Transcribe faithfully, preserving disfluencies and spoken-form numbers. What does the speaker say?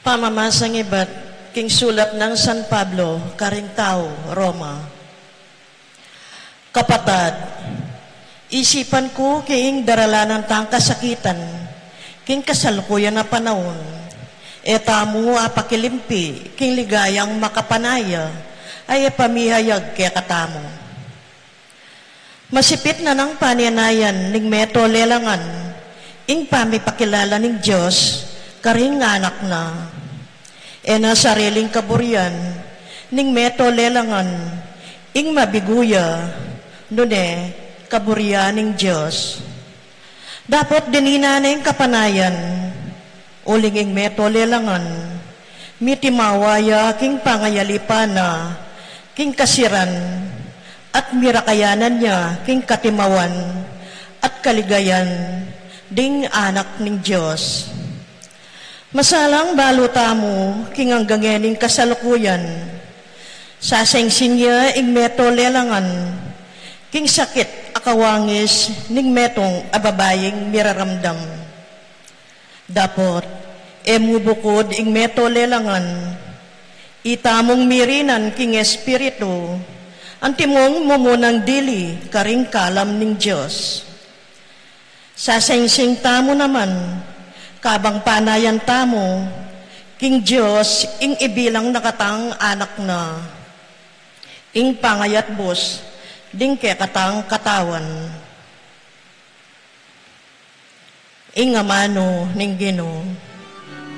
Pamamasang ibat king sulat nang San Pablo karing tau Roma. Kapatad, isipan ku king daralanan tang kasakitan king kasalukuyan a panaun, e tamu apakilimpi king ligayang makapanaya a ipamihayag kekatamu. Masipit na nang panenayan ning meto lelangan ing pamipakilala ning Dios karing anak na. E na sariling kaburian ning meto lelangan ing mabigu ya, nune kaburian ning Dios. Dapot dinina ne ing kapanayan, uling ing meto lelangan, mitimawa ya king pangayalipan na king kasiran, at mirakayanan ya king katimawan at kaligayan ding anak ning Dios. Masalang balu tamu king anggang ening kasalukuyan, sasengsing ya ing meto lelangan king sakit a kawangis ning metung a babaing miraramdam. Dapot e mu bukud ing meto lelangan, itamung mirinan king espiritu, antimong mumunang dili karing kalam ning Dios. Sasengsing tamu naman, kabang panayan tamu king Dios ing ibilang na katang anak na, ing pangayatbus ding kekatang katawan. Ing amanu ning Ginu.